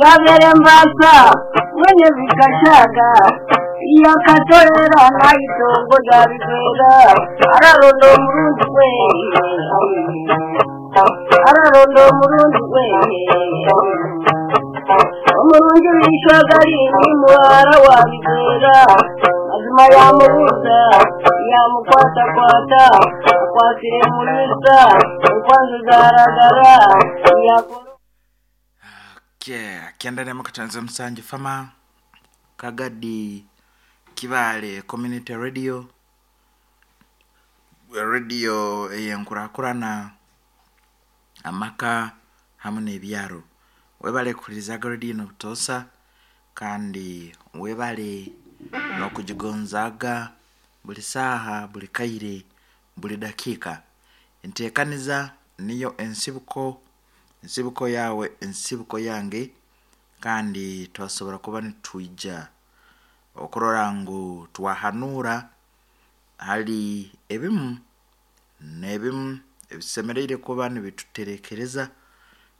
Yabere mbasa mwenye bikashaga yakatorera naitongo ryabigwera ararondo omurundi we ararondo omurundi we omurungi w'ishagari ni muhara wa bigwera mazima yamubuza yamukwatakwata akwasire murisa enkwanzi zaragara yakora. Okay, akiendelea makatanzo msanji fama Kagadi Kibale Community Radio, radio eyenkurakurana amaka hamwe n'ebyaro. Webale kuhurizaga radio n'obutosa kandi webale n'okugigonzaga buli saaha, buli kaire, buli dakiika. Enteekaniza niyo ensibuko, ensibuko yawe, ensibuko yange, kandi twasobora kuba nitwija okurora ngu twahanuura hali ebimu n'ebimu ebisemeriire kuba nibituterekereza,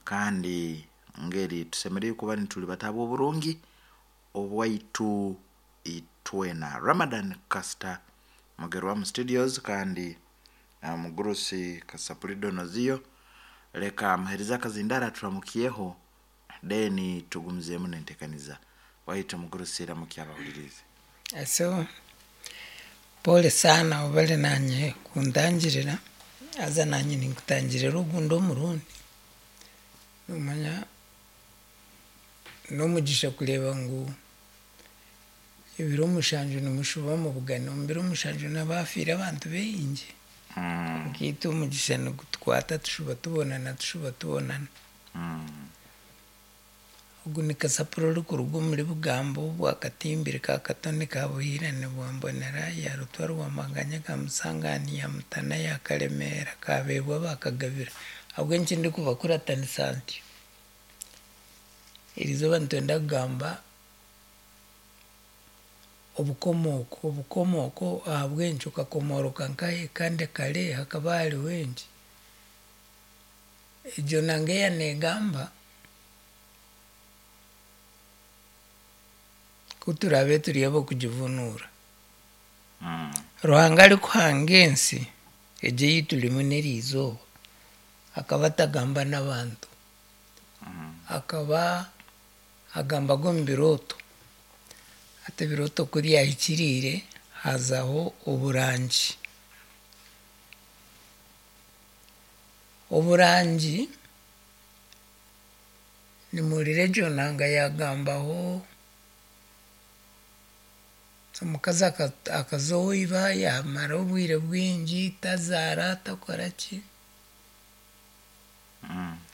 kandi ngeri tusemeriire kuba nituli oburungi obwaitu itwena. Ramadan Caster Mugerwa mu studios kandi mugurusi Kasapulido Noziyo. Leka muhereza akazindara turamukiyeho deni tugumizemu nentekaniza waitu mugurusi ramukia abahulirize. So pole sana ubale nanye kuntangirira, aza nanye ninkutangirira ogundi omurundi. Nomanya n'omugisha kureeba ngu ebiro 7 nimushuba omu bugano, omu biro 7 n'abafiire abantu baingi. Nkiita omugisha nigutukwata tushuba tubonana, tushuba tubonana. Ogu ni Kasapuro orikuruga omuri Bugambo bwakatimbire ka Katoni ka Buhiirane bwa Mbonera ya Rutwa rwa Maganya ka Musangani ya Mutana ya Karemera Kabebwa bakagabira. Ahabw'enki ndikubakuratanisa ntyo? Erizooba nitwenda kugamba obukomooko, obukomooko ahabw'enki okakomooroka nkahe kandi kare hakaba hariho enki. Egyo nangeya neegamba ku turaabe turi ab'okugivunuura. Ruhanga arikuhanga ensi egyo ei turimu n'eriizooba akaba atagamba n'abantu. Akaba agambaga omu birooto. Hati ebirooto ku byahikiriire hazaho oburangi. Oburangi nimuhurira egyo nanga yagambaho omukazi akaza owaiba yamara obwire bwingi tazaara takora ki.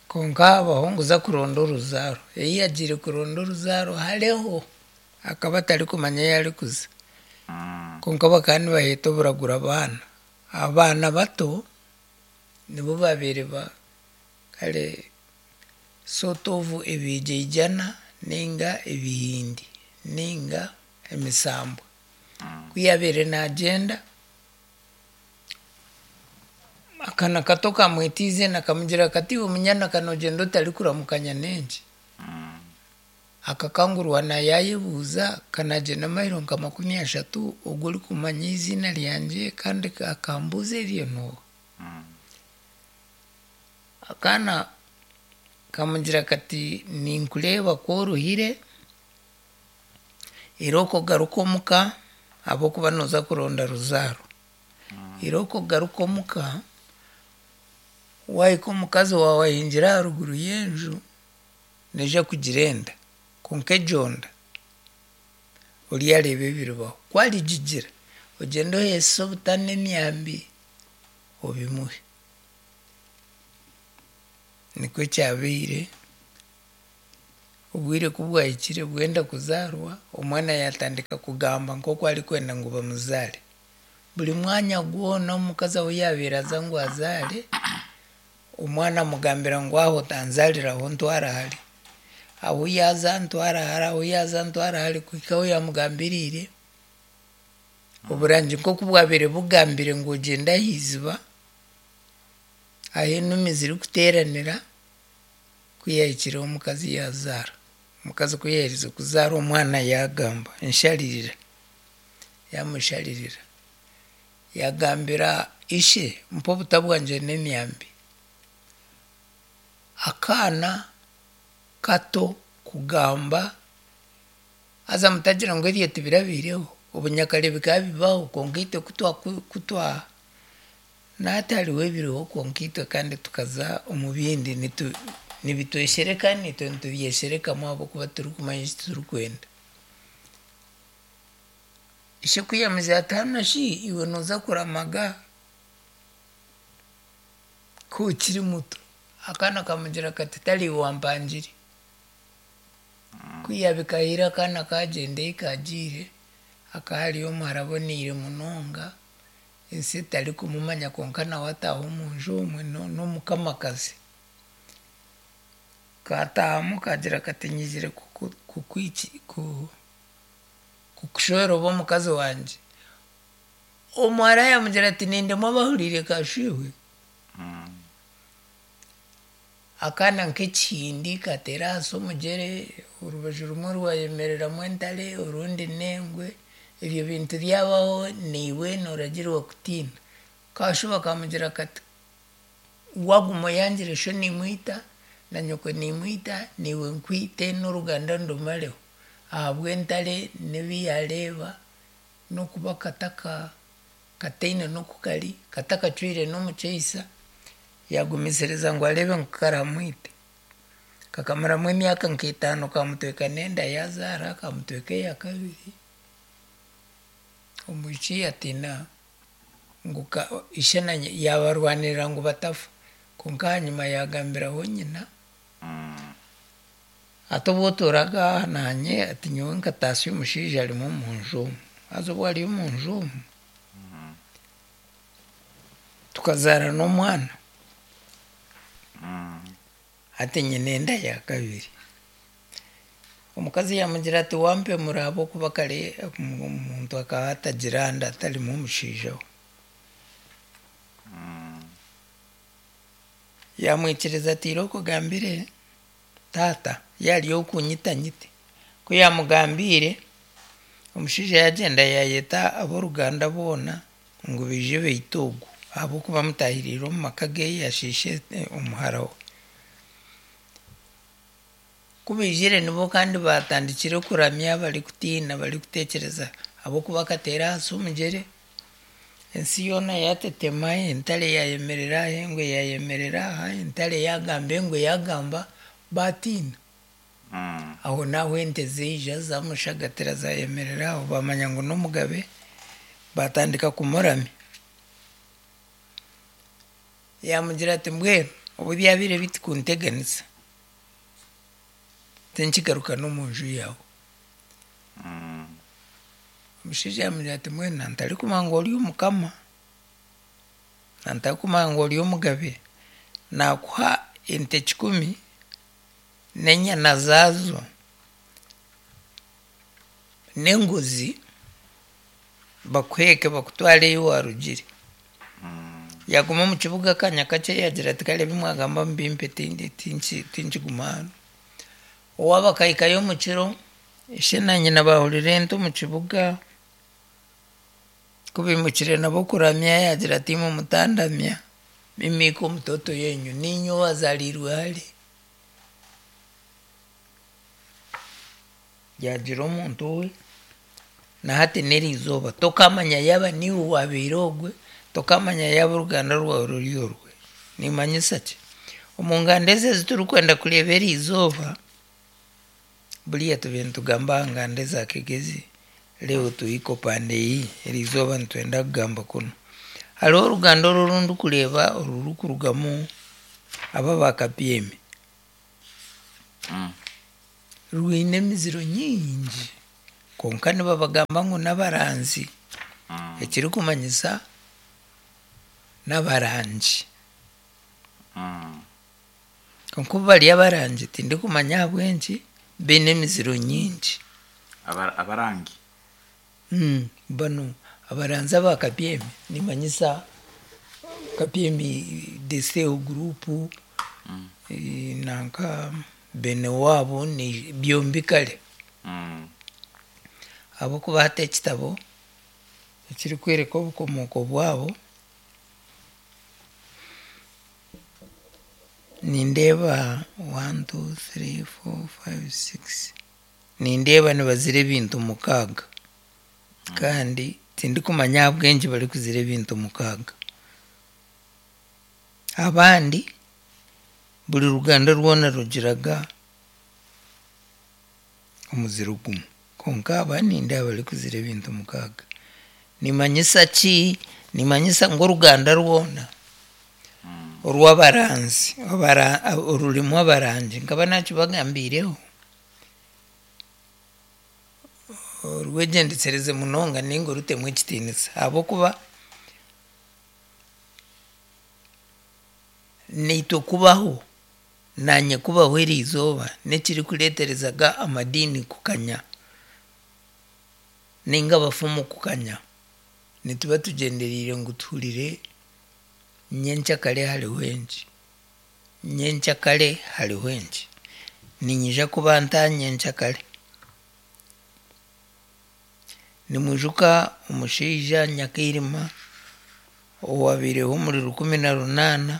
Konka habaho ngu za kuronda oruzaaro. Ei yagiire kuronda oruzaaro hariho akaba atarikumanya ei arikuza. Konka bakaba nibaheeta oburagura abaana. Abaana bato nibo babaire ba kare sort of ebiijaijana ninga ebihindi ninga emisambwa. Ku yabaire nagyenda akana kato kamweta eiziina kamugira kati iwe munyanaka nogyenda otarikuramukanya n'enki? Akakangurwa yayebuuza kanagyenda mayiro nka 30 ogwo orikumanya eiziina ryangye kandi akambuuza eryo n'oha? Akaana kamugira kati ninkureeba ku oruhire era ogaruka omuka ahabw'okuba nooza kuronda ruzaaro. Era ogaruka omuka wahika omukazi waawe ahingira aharuguru y'enju naija kugira enda konka egyo nda oryareeba ebiribaho. Ku arigigira ogyende oheese obuta n'emyambi obimuhe. Nikwo kyabaire, obwire ku bwahikire bwenda kuzaarwa omwana yatandika kugamba nk'oku arikwenda ngu bamuzaare. Buri mwanya gwona omukazi ahu yabaire aza ngu azaare, omwana amugambira ngu aho otanzaariraho ntwara hari. Ahu yaaza ntwara hari, ahu yaaza ntwara hari kuhika ahu yamugambiriire oburangi nk'oku bwabaire bugambire ngu ogyende ah'iziba. Ahu enumi zirikuteeranira, ku yaahikireho omukazi yaazaara. Omukazi ku yaaherize kuzaara omwana yaagamba, nsharirira. Yaamusharirira. Yaagambira ishe, mpa obuta bwangye n'emyambi. Akaana kato kugamba, haza mutagira ngu ebyo tibirabaireho, obunyakare bikaba bibaho kwonka itwe ku twa ku twa nahati hariho ebiriho kwonka itwe kandi tukaza omu bindi nibitweshereka naitwe nitubyesherekamu ahabw'okuba titurikumanya eki turikwenda. Ishe ku yaamugira ati hanu shi iwe nooza kuramaga ku okiri muto? Akaana kamugira kati tari iwe wampangire. Ku yaabikahiire akaana kaagyenda ei kaagiire, hakaba hariyo omuhara aboneire munonga, ensi etarikumumanya kwonka nawe ataaha omu nju omwe n'omukamakazi. Kaataahamu kaagira kati nyizire kukushwera obe omukazi wangye. Omuhara yaamugira ati nindemwa abahuriire kashwiwe. Akaana nk'ekihindi kateera ahansi omugyere, orubaju rumwe rwayemereramu entare orundi n'engwe, ebyo bintu byabaho naiwe nooragirwa kutiina. Kashuba kamugira kati waaguma oyangire sho nimwita na nyoko nimwita naiwe nkwite n'oruganda ndumareho ahabw'entare n'ebi yaareeba n'okuba kataka kataine n'oku kari katakacwire n'omukyeisa yaagumisiriza ngu areebe ngu karamwite. Kakamaramu emyaka nk'etaano kamutweka n'enda yaazaara kamutweka eya kabiri. Omwishiki yatiina ngu ishe na yaabarwanirira ngu batafa kwonka ahanyima yaagambiraho nyina ati obu otuuraga aha naanye ati nyowe nkataasya omushaija arimu omu nju omu haza obu ari omu nju omu tukazaara n'omwana hati nyine enda ya kabiri. Omukazi yaamugira ati wampemura ahabw'okuba kare omuntu akaba atagira nda atarimu omushaija we. Yaamwikiriza ati irooko ogambire taata yaari ow'okunyita anyite. Ku yaamugambiire, omushaija yaagyenda yaayeta ab'oruganda boona ngu baije baite ogu ahabw'okuba amutaahiriire omu maka ge yaashiisha omuhara we. Ku baijire nibwo kandi baatandikire kuramya barikutiina barikuteekyereza ahabw'okuba akateera ahansi omugyere, ensi yoona yaatetema, entare yaayemerera aha, engwe yaayemerera aha, entare yaagamba, engwe yaagamba, baatiina. Aho n'aho ente zaija zaamushagatira zaayemerera aho baamanya ngu n'omugabe, baatandika kumuramya. Yaamugira ati mbwenu obu byabaire bitikunteganisa, tinkigaruka n'omu nju yaawe. Omushaija yaamugira ati mbwenu nantarikumanya ngu ori omukama, nantarikumanya ngu ori omugabe, naakuha ente 100 n'enyana zaazo n'engozi bakuheeke bakutware ei waarugire. Yaaguma omu kibuga akanya kakye yaagira ati kare ebi mwagamba mubimpe tinkiguma hanu. Owaabo akahikayo omu kiro, ishe na nyina baahurira ente omu kibuga, ku baimukire nabo kuramya yaagira ati imwe mutandamya, mimiika omutoto yenyu, niinye owaazaariirwe hare. Yaagira omuntu we, na hati n'eriizooba tokaamanya yaaba niiwe waabaire ogwe, tokaamanya yaaba oruganda rwawe ruri orwe. Nimmanyisa ki? Omu nganda ezi ezi turikwenda kureeba eriizooba, buriya tubaire nitugamba aha nganda eza Kigezi, leo tuiko pande hii, eriizooba nitwenda kugamba kunu. Hariho oruganda oru oru ndikureeba orurikurugamu aba aba Kapyemi. Rwine emiziro nyingi kwonka nibabagamba ngu n'abaranzi, ekirikumanyisa n'abarangi. Kwonka obu bari abarangi tindikumanya ahabw'enki baine emiziro nyingi. Abarangi? Banu abaranzi aba Kapyemi nimanyisa Kapyemi desceu o grupo, nanka bene waabo ni byombi kare. Ahabw'okuba hati ekitabo ekirikworeka obukomooko bwabo, nindeeba one, two, three, four, five, six, nindeeba nibazira ebintu 6 kandi tindikumanya ahabw'enki barikuzira ebintu 6. Abandi buri ruganda rwona rugiraga omuziro gumwe, kwonka aba nindeeba barikuzira ebintu 6. Nimanyisa ki? Nimanyisa ngu oruganda rwona orw'abaranzi, orurimu abarangi, nkaba nakibagambiireho, orwegyendesereze munonga ninga orutemu ekitiinisa ahabw'okuba naitwe kubaho, naanye kubaho eriizooba n'ekirikureeterezaga amadiini kukanya ninga abafumu kukanya, nituba tugyendereire ngu tuhurire nyenkyakare hariho enki, nyenkyakare hariho enki, niinyija kuba nta nyenkyakare. Nimwijuka omushaija Nyakairima owabaireho omuri 1800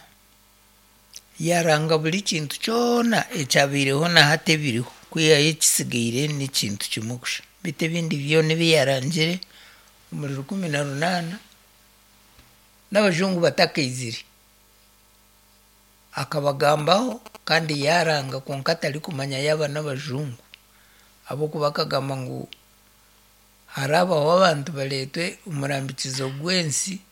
yaranga buri kintu kyona ekyabaireho na hati ebiriho, kwihaho ekisigaire n'ekintu kimwe kusha, beitu ebindi byona ebi yarangire omuri 1800 n'abajungu batakaizire, akabagambaho kandi yaranga kwonka atarikumanya yaaba n'abajungu, ahabw'okuba akagamba ngu harabaho abantu bareetwe omurambikizo gw'ensi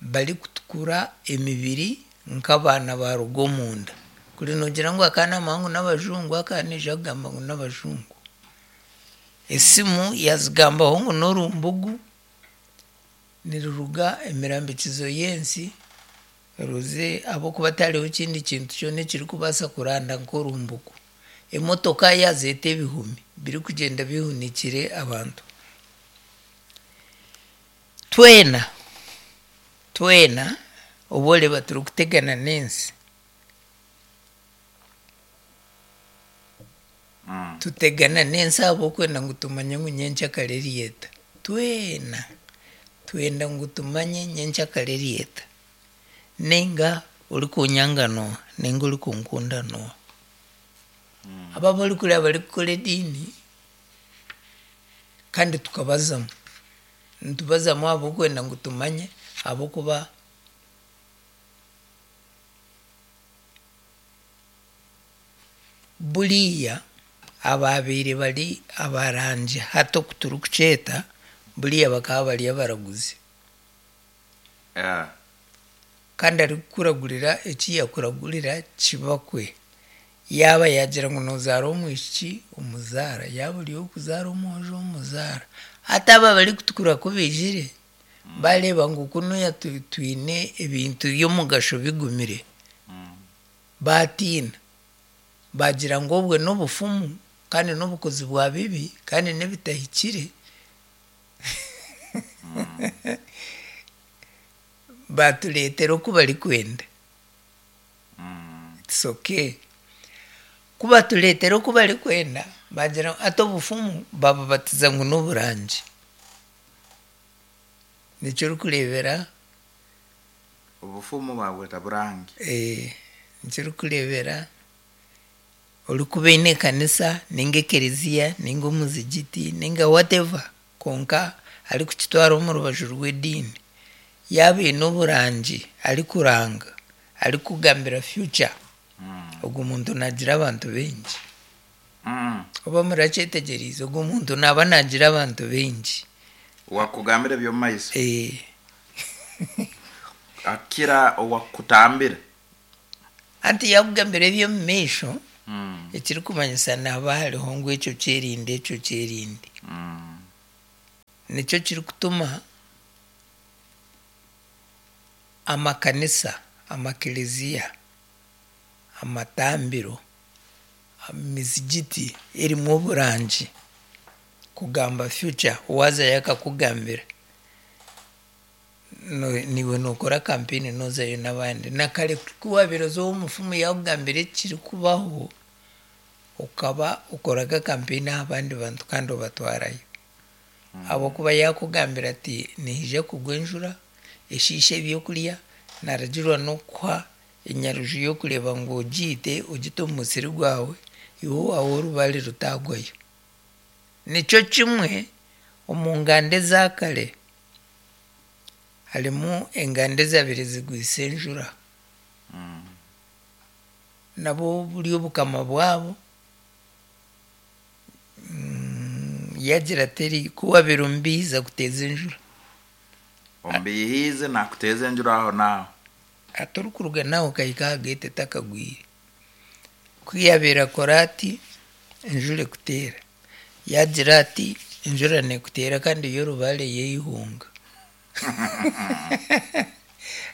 barikutukura emibiri nk'abaana baruga omunda. Kuri noogira ngu akaana ngu n'abajungu, akaana naija kugamba ngu n'abajungu. Esimu yazigambaho ngu n'orumbugu niruruga emirambikizo y'ensi ruze ahabw'okuba tihariho ekindi kintu kyona ekirikubaasa kuranda nk'orumbugu. Emotoka yazeeta ebihumi birikugyenda bihunikire abantu. Twena, twena obu oreeba turikutegana n'ensi, tutegana n'ensi ahabw'okwenda ngu tumanye ngu nyenkyakare eryeta. Twena twenda ngu tumanye nyenkyakare eryeta. Ninga orikunyanga nooha, ninga orikunkunda nooha. Abo abu orikureeba barikukora ediini kandi tukabazamu, nitubazamu ahabw'okwenda ngu tumanye ahabw'okuba buriya ababaire bari abarangi hati oku turikukyeta, buriya bakaba bari abaraguzi. Kandi arikukuragurira eki yakuragurira kibakwe. Yaaba yaagira ngu noozaara omwishiki, omuzaara, yaaba ori ow'okuzaara omwojo, omuzaara. Hati aba abarikutukura ku baijire, bareeba ngu kunuya twine ebintu by'omugasho bigumire, baatiina, bagira ngu obwe n'obufumu kandi n'obukozi bwa bibi kandi n'ebitahikire, batureetera oku barikwenda. It's okay. Ku batureetera oku barikwenda, bagira ngu hati obufumu babubatiza ngu n'oburangi. Nikyo orikureebera Obufumu babweta burangi. Nikyo orikureebera orikuba oine ekanisa ninga ekereziya ninga omuzigiti ninga whatever kwonka arikukitwara omu rubaju rw'ediini, yaaba aine oburangi arikuranga, arikukugambira future, ogwo muntu naagira abantu baingi. Oba murakyetegyereize, ogwo muntu naaba naagira abantu baingi. Owakugambira eby'omu maiso. Akira owakutambira. Anti yaakugambira eby'omu maisho, ekirikumanyisa nihaba hariho ngu ekyo kyerinde, ekyo kyerinde. Nikyo kirikutuma amakanisa, amakereziya, amatambiro, emizigiti erimu oburangi kugamba future waazayo akakugambira. Niiwe nookora kampeyini noozayo n'abandi. Na kare ku waabaire oza ow'omufumu yaakugambira ekirikubaho, okaba okoraga kampeyini aha bandi bantu kandi obatwarayo. Ahabw'okuba yaakugambira ati nihaija kugwa enjura, eshiishe ebyokurya, naaragirwa n'okukuha enyaruju y'okureeba ngu ogiite ogite omu musiri gwawe, iwe owaawe orubaare rutaagwayo. Nikyo kimwe omu nganda eza kare, harimu enganda ezaabaire zigwisa enjura. Nabo buri obukama bwabo, yaagira ati eri ku waabaire omubiihiza kuteeza enjura. Omubiihiize naakuteeza enjura aho n'aho. Ati orikuruga naawe okahika aha geeti etakagwire. Ku yaabaire akora ati, enjura ekuteera. Yaagira ati, enjura neekuteera kandi yo rubaare yeihunga.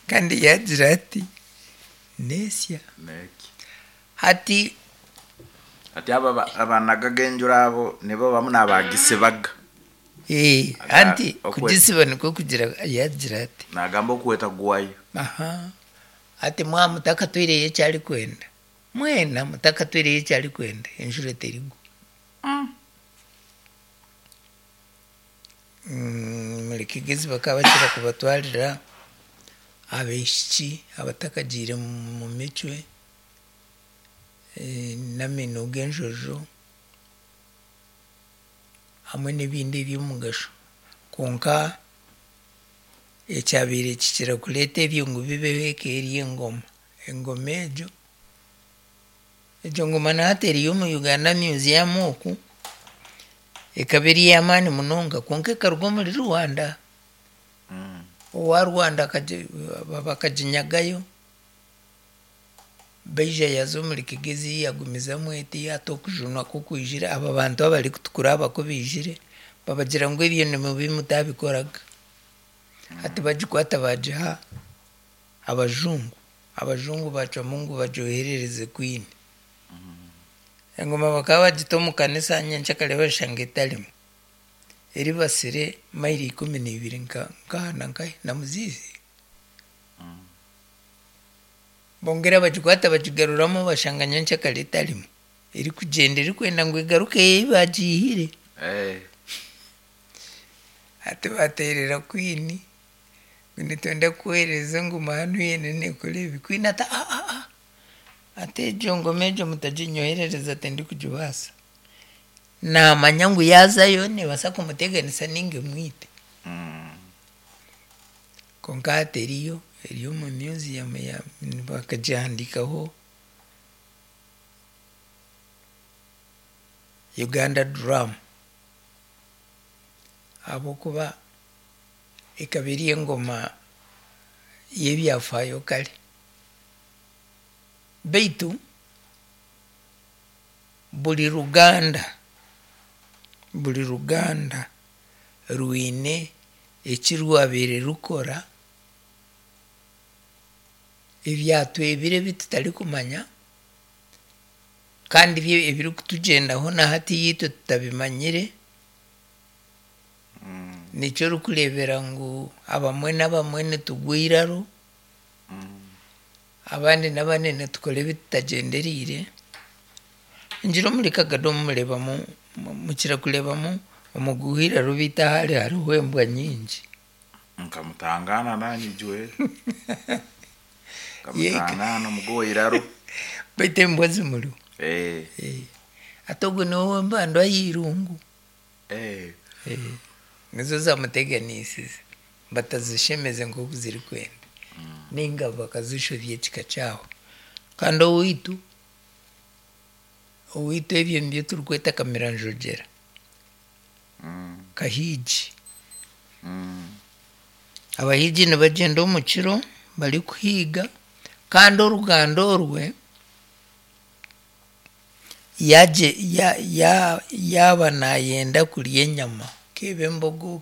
Kandi yaagira ati, neesya. Neki. Hati. Hati abo abanagaga enjura abo nibo bamwe naabagisibaga. Ee, anti kugisiba nikwo kugira yaagira ati. Naagamba okweta gwayo. Aha. Ati mwaba mutakatwireyo eki arikwenda, mwena mutakatwireyo eki arikwenda, enjura terigwa. Omuri Kigezi bakaba bakira kubatwarira abaishiki abatakagiire mu micwe n'amaino g'enjojo hamwe n'ebindi eby'omugasho. Kwonka ekyabaire kikira kureeta ebyo ngu bibeho ekaba eri engoma. Engoma egyo, egyo ngoma na hati eriyo omu Uganda Museum oku, ekaba eri ey'amaani munonga kwonka ekaruga omuri Rwanda. Owa Rwanda bakaginyagayo, baija yaaza omuri Kigezi yagumizamu eti hati okujunwa ku kwizire, aba bantu abarikutukura aba ku baizire, babagira ngu ebyo nimubi mutabikoraga. Hati bagikwata bagiha abajungu, abajungu bacwamu ngu bagyoherereze Queen. Engoma bakaba bagita omu kanisa nyencakare bashanga etarimu. Eribasire mayiro 12 nka nkaha na nkahi na Muzizi. Bongyera bagikwata bagigaruramu bashanga nyencakare etarimu. Erikugyenda erikwenda ngu egaruke ei bagiihire. Hati bateerera Queen ngu nitwenda kukuheereza engoma hanu yoona neekora ebi. Queen ati ah ah ah ati egyo ngoma egyo mutaginyoherereza tindikugibaasa. Naamanya ngu yaazayo neebaasa kumuteganisa nainga emwite. Kwonka hati eriyo, eri omu museum ya bakagihandiikaho Uganda drum ahabw'okuba ekaba eri engoma y'ebyafaayo kare. Beitu buri ruganda, buri ruganda rwine eki rwabaire rukora ebyatwebire ebi tutarikumanya kandi ebirikutugyendaho na hati itwe tutabimanyire. Nikyo orikureebera ngu abamwe n'abamwe nitugwa eiraro, abandi n'abandi nitukora ebi tutagyendereire. Ningira omuri Kagado mureebamu, mukira kureebamu omuguha gw'eiraro beitu ahari hariho embwa nyingi. Nkamutangana nanye ijweri. Nkamutangana omuguha gw'eiraro. Beitu embwa zimuriho. Eh. Hati ogwo niwe w'embandwa y'eirungu. Eh. Nizo zamuteganiisize batazishemeze nk'oku zirikwenda nainga bakazishobya ekika kyabo. Kandi owaitu, owaitu ebyo nibyo turikweta kamiranjogyera, kahiigi. Abahiigi nibagyenda omu kiro barikuhiiga kandi oruganda orwe yaaba naayenda kurya enyama k'ebe embogo.